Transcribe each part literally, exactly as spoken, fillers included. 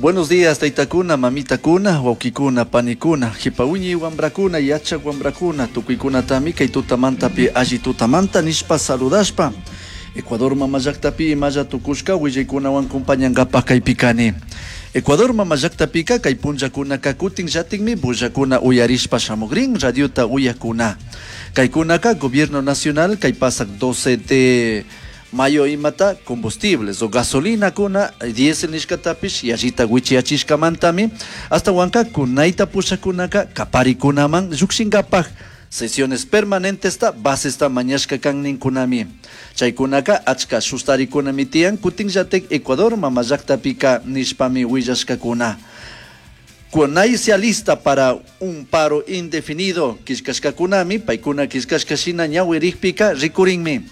Buenos días, taytakuna, mamitakuna, wawkikuna, panikuna, hipawiñi wambrakuna, yachak wambrakuna, tukuykunatami kay tutamantapi alli tutamanta nishpa saludashpa. Ecuador mama llaktapi imalla tukushka willaykunawan kumpañankapaj kaypi kani. Ecuador mama llaktapika kay punllakunaka kutin llatikmi bullakuna uyarishpa shamukrin radiota uyakuna. Kaykunaka Gobierno Nacional kay pasak doce de mayo imata combustibles o gasolina kuna diésel nishkatapish yallita wichiyachishkamantami hasta kunayta pushakunaka kaparikunaman llukshinkapaj sesiones permanentes ta basesta mañashka kan ninkunami. Chaykunaka achka shustarikunami tiyan kutinllatik Ecuador mama llaktapika nishpami willashkakuna. CONAIE se alista para un paro indefinido killkashkakunami paykuna killkashka shina ñawirikpika rikurinmi.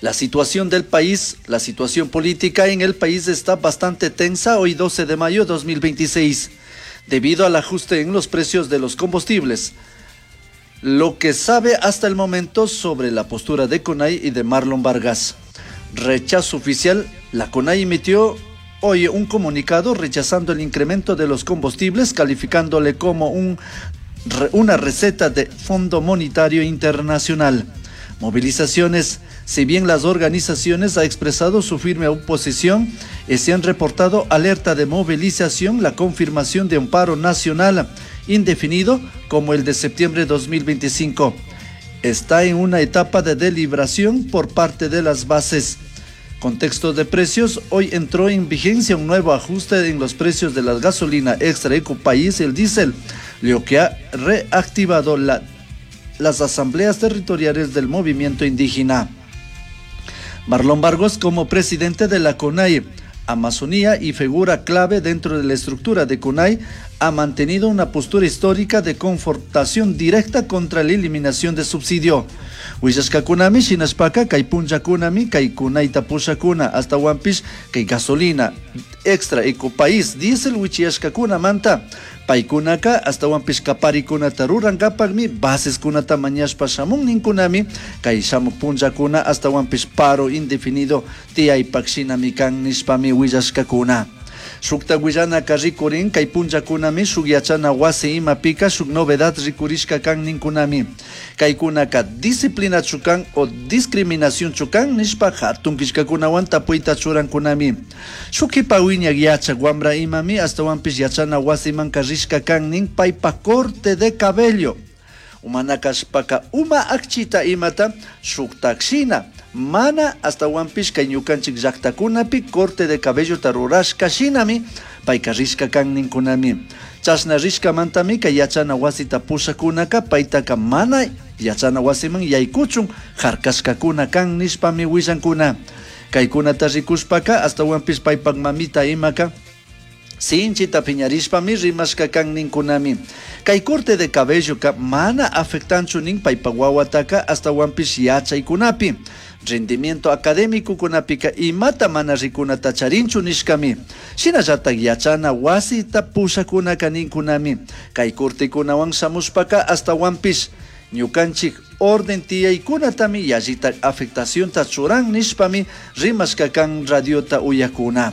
La situación del país, la situación política en el país está bastante tensa hoy doce de mayo de dos mil veintiséis, debido al ajuste en los precios de los combustibles. Lo que sabe hasta el momento sobre la postura de CONAIE y de Marlon Vargas. Rechazo oficial, la CONAIE emitió hoy un comunicado rechazando el incremento de los combustibles, calificándole como un re-, una receta de Fondo Monetario Internacional. Movilizaciones. Si bien las organizaciones han expresado su firme oposición, eh, se han reportado alerta de movilización, la confirmación de un paro nacional indefinido como el de septiembre de dos mil veinticinco. Está en una etapa de deliberación por parte de las bases. Contexto de precios, hoy entró en vigencia un nuevo ajuste en los precios de la gasolina extra ecopaís y el diésel, lo que ha reactivado la, las asambleas territoriales del movimiento indígena. Marlon Vargas, como presidente de la CONAIE Amazonía y figura clave dentro de la estructura de CONAIE, ha mantenido una postura histórica de confrontación directa contra la eliminación de subsidio. Huillashkakunami, shinashpaka, kay punllakunami, kay kunayta pushakuna, hasta wampish, kay gasolina extra ecopaís, diésel wichiyashkakunamanta. Paykunaka, hasta wampish kaparikunata rurankapakmi, baseskunata mañashpa shamun ninkunami, kay shamuk punllakuna, hasta wampish paro indefinido tiyaypak shinami kan nishpami willashkakuna. Shukta willanaka rikurin, kay punllakunami shuk yachana wasi imapika shuk novedad rikurishka kan ninkunami. Kaykunaka disciplina chukan o discriminación chukan nishpa hatun killkakunawan tapuyta churankunami. Shuk kipa wiñak yachak wambra imami hasta wampish yachana wasimanka rishka kan nin paypa corte de cabello. Umana kashpaka uma akchita imata shuktakshina. Mana hasta wampish kay ñukanchik llaktakunapi corte de cabello tarurashka shinami payka rishka kan ninkunami. Chashna rishkamantami kay yachana wasita pushakunaka paytaka mana yachana wasiman yaykuchun harkashkakuna kan nishpami willankuna. Kaykunata rikushpaka hasta wampish paypak mamita imaka sinchita piñarishpami rimashka kan ninkunami. Kay corte de cabello ka mana afectanchu nin paypak wawataka hasta wampish yachaykunapi. Rendimiento académico kunapika imata mana rikunata charinchu nishkami. Shinallatak yachana wasita pushakunaka ninkunami. Kay cortekunawan shamushpaka hasta wampish ñukanchik orden tiyaykunatami yallitak afectacionta churan nishpami rimashka kan radiota uyakuna.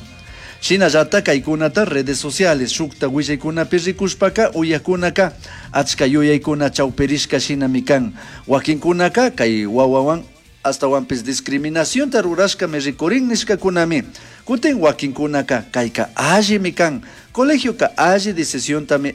Shinallatak kaykunata redes sociales shukta willaykunapi rikushpaka uyakunaka achka yuyaykuna chawpirishka shinami kan. Wakinkunaka kay wawawan hasta wampis discriminacionta rurashkami rikurin nishkakunami. Kutin wakinkunaka kayka allimi kan. Colegioka alli decisiontami